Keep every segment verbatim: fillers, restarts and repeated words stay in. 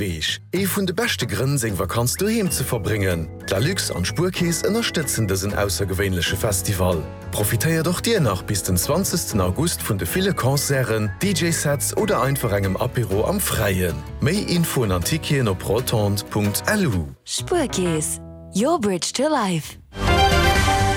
Beach. Ee vun de beschte Grënn, seng Vakanz doheem ze verbréngen. D'Lalux an d'Spuerkeess ënnerstëtzen dësen aussergewéinleche Festival. Profitéiert och dir nach bis den zwanzegsten August vun de ville Concerten, D J-Sets oder einfach engem Apéro am Fräien. Méi Infoen an Ticketen op rotonde Punkt L U. Spuerkeess, your bridge to life.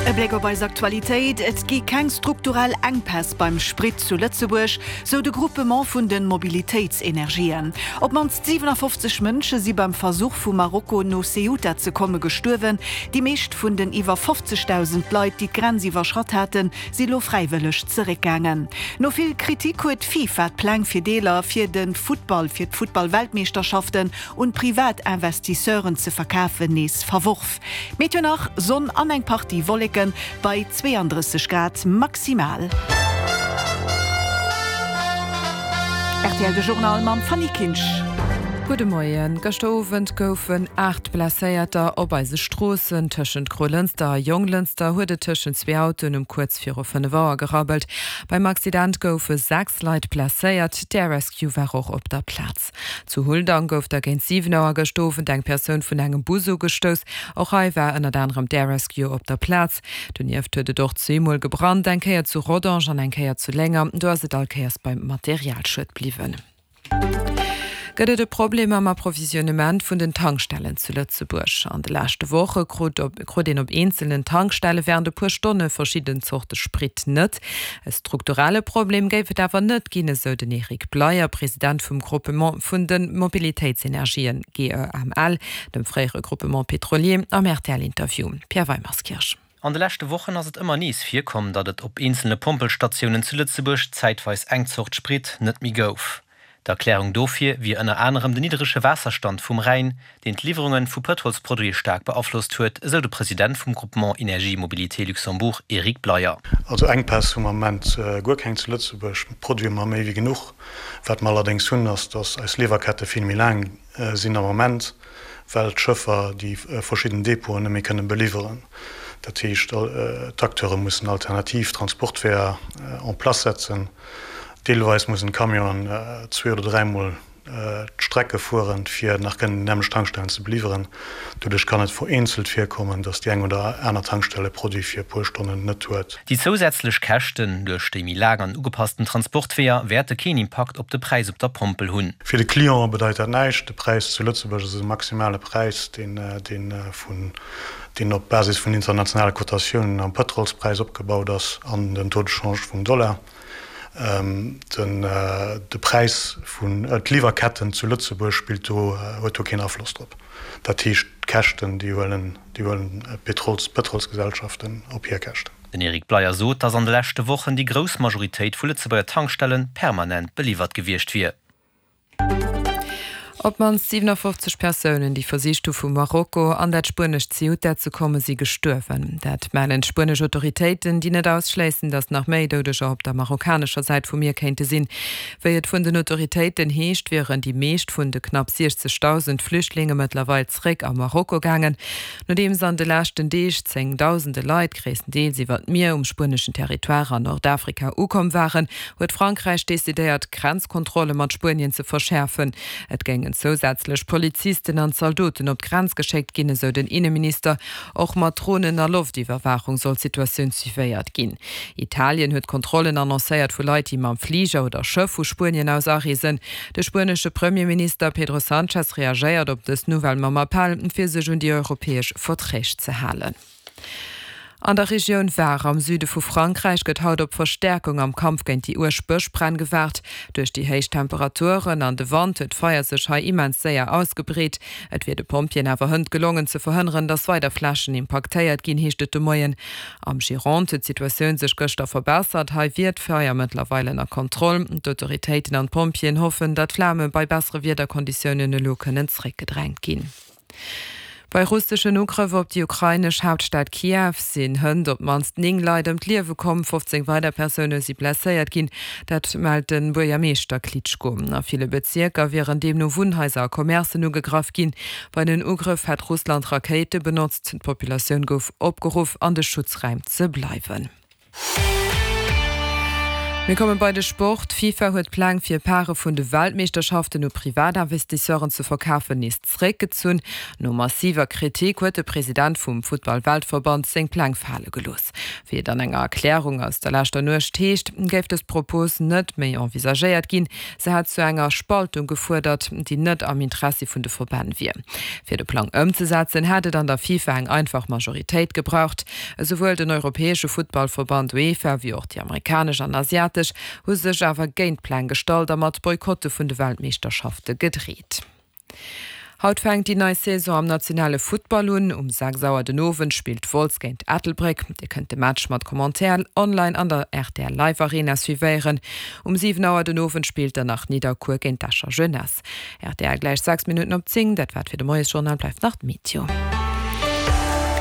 E Bléck op eis Aktualitéit, Et gi keng strukturell Enkpäss beim Sprit zu Lëtzebuerg, sou de Groupement vun de Mobilitéitsenergien. Op d'mannst siwenafofzeg Mënsche si beim Versuch vu Marokko no Ceuta ze komme gestuerwen. Déi meescht vun den iwwer fofzegdausend Leit, déi d'Grenz iwwerschratt haten, si lo fräiwëlleg zeréckgaangen. No vill Kritik huet d'FIFA d'Pläng fir Deeler fir de Futtball fir d'Futtball-Weltmeeschterschaften un privat Investisseuren ze verkafen nees verworf. Meteo nach, Sonn an eng Partie Wolleken bei zweeandrësseg Grad maximal. R T L de Journal mam Fanny Kinsch. Gudde Moien. Gëschter Owend goufen aacht Blesséierter op eise Stroossen. Tëschent Grolënster a Jonglënster huet et tëschent zwee Autoen um kuerz viru fënnef Auer gerabbelt. Beim Accident goufe sechs Leit blesséiert. D'Air Rescue war och op der Plaz. Zu Huldang gouf da géint siwen Auer gëschter Owend eng Persoun vun engem Bus ugestouss. Och hei war ënnert anerem d'Air Rescue op der Plaz. Donieft huet et och zweemol gebrannt, eng Kéier zu Rodange an eng Kéier zu Lénger. Do ass et all Kéiers beim Materialschued bliwwen. Gëtt et e Problem am Approvisionnement vun den Tankstellen zu Lëtzebuerg? An de leschte Woche krut op krut een op eenzelnen Tankstelle wärend e puer Stonne verschidden Zorte Sprit net. E strukturelle Problem géif et awer net ginn, esou den Eric Bleyer, President vum Groupement vun de Mobilitéitsenergien G E M L, dem fréiere Groupement Pétrolier, am R T L-Interview. Pierre Weimerskirch. An de leschte Wochen ass et ëmmer nees virkomm, datt et op eenzelne Pompelstatiounen zu Lëtzebuerg zäitweis eng Zort Sprit net méi gouf. D'Erklärung dofir wier ënner anerem den niddrege Waasserstand vum Rhäin, deen d'Liwwerunge vu Pëtrolsproduite staark beaflosst huet, esou de President vum Groupement Énergie Mobilité Luxembourg Eric Bleyer. Also Enkpäss hu mer am Moment guer keng zu Lëtzebuerg, Produite hu mer méi wéi genuch. Wat mer allerdéngs hunn, ass, datt eis Liwwerkette vill méi laang sinn am Moment, well d'Schëffer déi verschidden Depoten net méi kënne beliwweren. Dat heescht, d'Acteure mussen alternativ Transportweeër en place setzen. Deelweis mussen d'Camionen zwee oder dräimol d'Strecke fueren, fir nach kënnen déi nämmlecht Tankstellen ze beliwweren. Doduerch kann et vereenzelt virkommen, datt déi eng oder aner Tankstell e Produit fir e puer Stonnen net huet. Déi zousätzlech Käschten duerch déi méi laang an ugepassten Transportweeër wäerte keen Impakt op de Präis op der Pompel hunn. Fir de Client bedeit dat näischt. De Präis zu Lëtzebuerg ass e maximale Präis, deen vun deen op Basis vun internationale Kotatiounen am Pëtrolspräis opgebaut ass an den Taux de change vum Dollar. De Präis vun d'Liwwerketten zu Lëtzebuerg spillt do, huet do keen Afloss drop. Dat heescht, d'Käschten, déi huelen déi huelen d'Pétrols d'Pëtrolsgesellschaften op hir Käschten. Den Eric Bleyer sot, datt an de leschte Wochen déi grouss Majoritéit vu Lëtzebuerger Tankstelle permanent beliwwert gewiescht wier. Op d'mannst siwenafofzeg Persounen, déi versicht hu vu Marokko an dat spuenescht Ceuta ze kommen, si gestuerwen. Dat mellen d'spuenesch Autoritéiten, déi net ausschléissen, datt nach méi Doudeger op der marokkanescher Säit vum Mier kéinte sinn. Wéi et vun den Autoritéiten heescht, wieren déi meescht vun de knapp siechzegdausend Flüchtlinge mëttlerweil zeréck a Marokko gaangen. Nodeems an de leschten Deeg zéngdausende Leit, gréisstendeels iwwer d'Mier, um spueneschen Territoire an Nordafrika ukomm waren, huet Frankräich decidéiert, d'Grenzkontrolle mat Spuenien ze verschäerfen. Et géingen zousätzlech Polizisten an Zaldoten op d'Grenz geschéckt ginn, esou den Inneminister. Och mat Dronen a Loftiwwerwaachung soll d'Situatioun suivéiert ginn. Italien huet Kontrollen annoncéiert vu Leit, déi mam Fliger oder Schëff vu Spuenien aus areesen. De spuenesche Premierminister Pedro Sánchez reagéiert op dës Nouvelle mam Appell, fir sech un déi europäesch Verträg ze halen. An der Regioun Var am Süde vu Frankräich gëtt haut op Verstäerkung am Kampf géint déi uerg Bëschbränn gewaart. Duerch déi héich Temperaturen an de Wand huet d'Feier sech hei immens séier ausgebreet. Et wier de Pompjeeën awer hënt gelongen ze verhënneren, datt weider Flächen impaktéiert ginn, heescht et de Moien. Am Gironde huet d'Situatioun sech gëschter verbessert. Hei wier d'Feier mëttlerweil ënner Kontroll. D'Autoritéiten an d'Pompjeeën hoffen, datt d'Flame bei bessere Wiederkonditiounen elo kënnen zeréckgedrängt ginn. Bei russeschen Ugrëff op déi ukrainesch Haaptstad Kiew sinn hënt op d'mannst néng Leit ëm d'Liewe komm, fofzéng weider Persoune si blesséiert ginn. Dat mellt de Buergermeeschter Klitschko. A ville Bezierker wieren deemno Wunnhaiser a Commercen ugegraff ginn. Bei den Ugrëff hätt Russland Rakéite benotzt. D'Populatioun gouf opgeruff, an de Schutzräim ze bleiwen. Mir komme bei de Sport. D'FIFA huet d'Pläng fir Pare vun de Weltmeeschterschaften u Privatinvestisseuren ze verkafen nees zeréckgezunn. No massiver Kritik huet de President vum Futtball-Weltverband seng Pläng fale gelooss. Wéi et an enger Erklärung aus der leschter Nuecht heescht, géif dës Propos net méi envisagéiert ginn. Se hätt zu enger Spaltung gefuerdert, déi net am Interessi vun de Verbänn wier. Fir de Plang ëmzesetzen, hätt et an der FIFA eng einfach Majoritéit gebraucht. Esouwuel den europäesche Futtballverband UEFA wéi och déi amerikanesch an asiatesch hu sech awer géint d'Pläng gestallt a mat Boykotte vun de Weltmeeschterschafte gedreet. Haut fänkt déi nei Saison am nationale Futtball un. Um sechs Auer den Owend spillt Wolz géint Ettelbréck. Dir kënnt de Match mat Commentaire online an der rtl Live Arena suivéieren. Um siwen Auer den Owend spillt dann nach Nidderkuer géint d'Escher Jeunesse. Rtl gläich sechs Minutten op zéng, dat war et fir de Moiesjournal, bleift nach d'Meteo.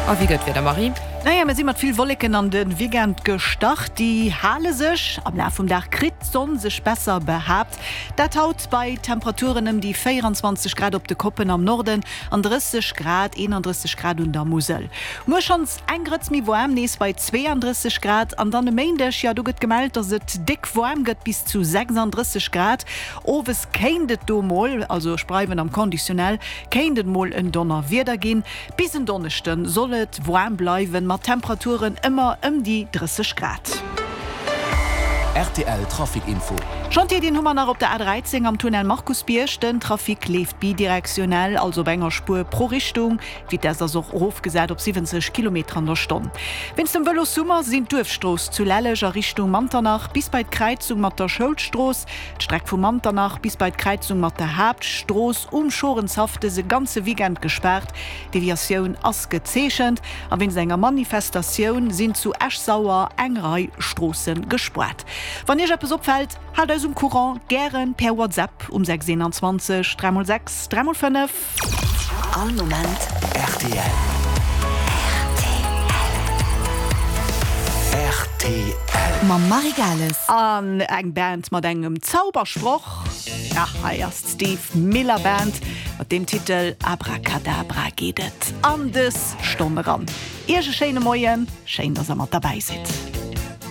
A wéi gëtt d'Wieder, Marie? Naja, mir si mat vill Wolleken an de Weekend gestart. Déi hale sech. Am Laf vum Dag kritt d'Sonn sech besser behaapt. Dat haut bei Temperaturen ëm déi véieranzwanzeg Grad op de Koppen am Norden an drësseg Grad, eenandrësseg Grad un der Musel. Muer schonns eng Grëtz méi waarm, nees bei zweeandrësseg Grad. An dann e Méindeg, jo do gëtt gemellt, dass et déck waarm gëtt, bis zu sechsandrësseg Grad. Owes kéint et do mol, also ech bleiwen am Conditionnel, kéint et mol en Donnerwieder ginn. Bis en Donneschde soll et waarm bleiwen, mat Temperaturen ëmmer ëm déi drësseg Grad. Rtl Trafic Info. Chantier, deen hu mer nach op der A dräizéng am Tunnel Markusbierg. Den Trafic leeft bidirektionell, also op enger Spuer pro Richtung. D'Vitess ass och erofgesat op siwwenzeg Kilometer an der Stonn. Wéinst dem Vëlossummer sinn d'Duerfstrooss zu Lelleg a Richtung Manternach bis bei d'Kräizung mat der Schoulstrooss, d'Streck vu Manternach bis bei d'Kräizung mat der Haaptstrooss um Schorenshaff dëse ganze Weekend gespaart. D'Deviatioun ass gezeechent a wéinst enger Manifestatioun sinn zu Esch-Sauer eng Rei Stroosse gespaart. Wann Iech eppes opfält, haalt eis um Courant, gären per WhatsApp um sechs eenanzwanzeg dräi mol sechs dräi mol fënnef. All Moment rtl. Rtl. Mam Marie Gales. An eng Band mat engem Zaubersproch, ja, hei ass d'Steve Miller Band. Mat deem Titel Abracadabra geet et an dës Stonn eran. Iech e schéine Moien, schéin, dass der mat derbäi sidd.